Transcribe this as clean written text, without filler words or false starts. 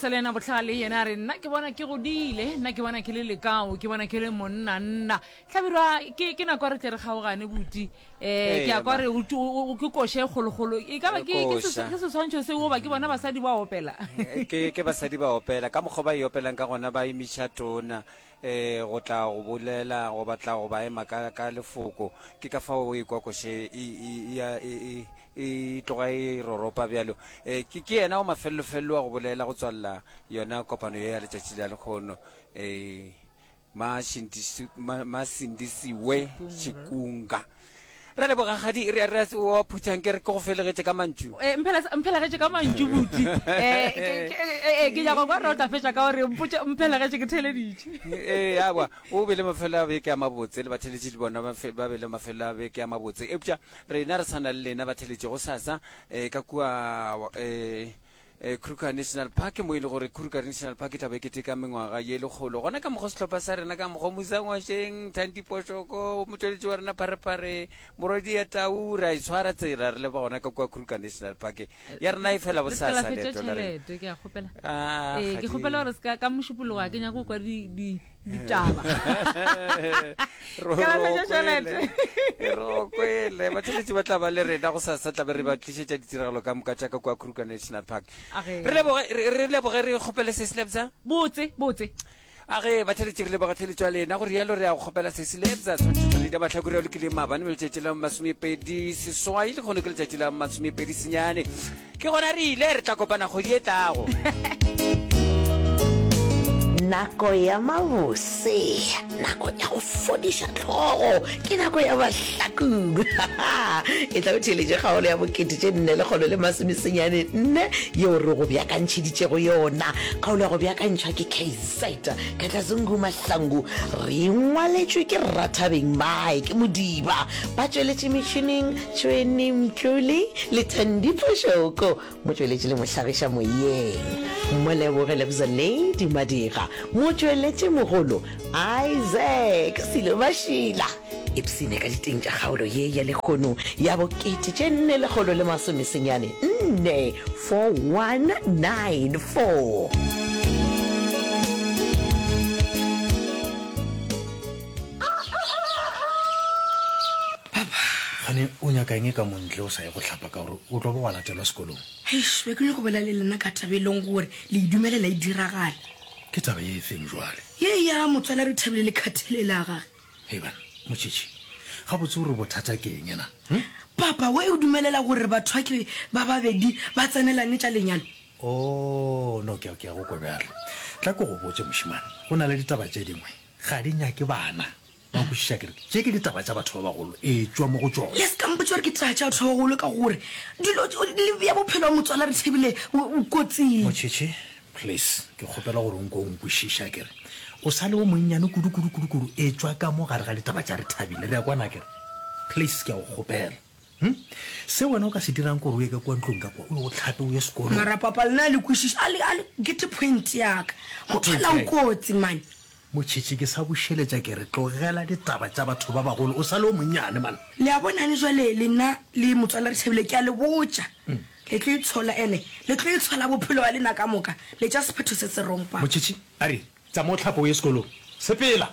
sa le yena bohlale yena a re nna ke bona ke godile nna ke bona ke le lekao ke bona ke le monna nna hlabirwa ke ke nako ya re tle re kgaogane buti um ke a kwa re ke koša e kgolokgolo e ka ba ke ke seswantšho seo goba ke bona basadi ba opela ke ke basadi ba opela ka mokgwa ba e opelang ka gona ba emiša tona um go tla go bolela go batla go ba ema ka ka lefoko ke ka fao o ekwa koše e e e e tloga e roropa bjalo um ke ke yena wa mafellofello wa go bolela go tswalela yona kopano ye ya letšatši la lekgono um Masindisiwe Chikunga. Re leboga gadi re re wa phuthang ke re ke go felegetše ka mantšu. Eh mphelegetše ka mantšu buti. Eh ke eh, nyaka kwa re o tla fetša ka gore mpotše mphelegetše ke theleditše. Eh awa o be le mafelo a beke a mabotse le batheletši le bona ba be le mafelo a beke a mabotse. Eupša rena re sana le lena batheletši go sasa eh ka kua eh Kruger National Park, mo e le gore Kruger National Park e tla be e keteka mengwaga ye lekgolo. Gona ka mokgwa sehlopha sa rena ka mokgwa Musa Ngwasheng, Thandi Poshoko, motšweletši wa rena Pharephare, morwedi ya Tau, re a e tshwara tsela re leba gona ka kua Kruger National Park. Ya rena e fela Le se ka la bosasa fetša leeto la rena. tšhelete ke a kgopela. Ah, Ee, ke kgadi. kgopela gore se ka ka mošupologo ga ke nyake go kwa di di ditaba. Ro- Ka la ro fetša kwele. tšhelete. Ro kwele. Batheeletši ba tla ba le rena gosasa tla be re ba tlišetša ditiragalo ka moka tša ka kua Kruger National Park. Age. Re leboge re re leboge re kgopele se Lebza. Botse, botse. Age batheeletši re leboga theeletšo ya lena go rialo re ya go kgopela se Lebza tshwantšhetšo ya mahlakore a lokileng maabane mo letšatši la 28 le kgono ke letšatši la 29 Ke gona re ile, re tla kopana kgwedi e tlago. Nako ya mabose, nako ya go fodiša hlogo, ke nako ya mahlakong. E tla o theeletše kgaolo ya bokete tše nne lekgolo le masomesenyane nne yeo re go beakantšheditšego yona. Kgaolo ya go beakantšhwa ke KZ Katlazungu Mahlangu, re ngwaletšwe ke Rathabeng Mike Modiba. Ba tšweletše metšhineng Tšhweni Mdluli le Thandi Phošoko, motšweletši le mohlagiša moyeng, Moleboge Lebza Lady Madira, motšweletši mogolo Isaac Silo Mašila. Ipshine ka diteng tša kgaolo ye ya lehono ya bokete tše 494 4194. Papa, gane o nyaka eng ka mo ntle o sa ye go hlapa ka gore o tlo ba wa latelwa sekolong? Eish, be ke nyako bolela le lena ka taba e leng gore le e dumelela e diragala. Ke taba ye efeng jwale? Ye ya motswala Rethabile le khathele la gage. Hei bana, Motšhitšhi, gabotse o re bothata ke eng na? Hm? Papa, we o dumelela gore batho ba ke ba babedi ba tsenelane tša lenyalo? Oh, no, ke a, ke a go kwa bjalo. Tla ke go botše mošemane, go na le ditaba tše dingwe ga di nyake bana. Wa nkwešiša ke re, tše ke ditaba tša batho ba bagolo, etšwa mo go tšona. Le se ka mpotša gore ke taba tša batho ba bagolo ka gore dilo le bea bophelo bja motswala Rethabile kotsing. Motšhetšhe, please, ke kgopela gore o nko o nkwešiše akere. O sa le o monnyane kudu, kudu, kudu, kudu, etšwa ka mo gare ga ditaba tša Rethabile, re a kwana akere? Please, ke a go kgopela. Hm? Se wena o ka se dirang ke gore o ye ka kua ntlong ka kua, o ye o hlape, o ye sekolong. Mara papa lena a le kwešiše, a le, a le gete point ya ka. Motswala o kotsi man. Motšhitšhi, ke sa bušeletša ke re, tlogela ditaba tša batho ba bagolo, o sa le o monnyane man. Le a bonane jwale lena le motswala Rethabile, ke a le botša, le tlo itshola ene le tlo itshola bophelo ba lena ka moka, le tša sephetho se se wrong papa. Motšhitšhi, a re, tsamaya o hlape o ye sekolong. Sepela!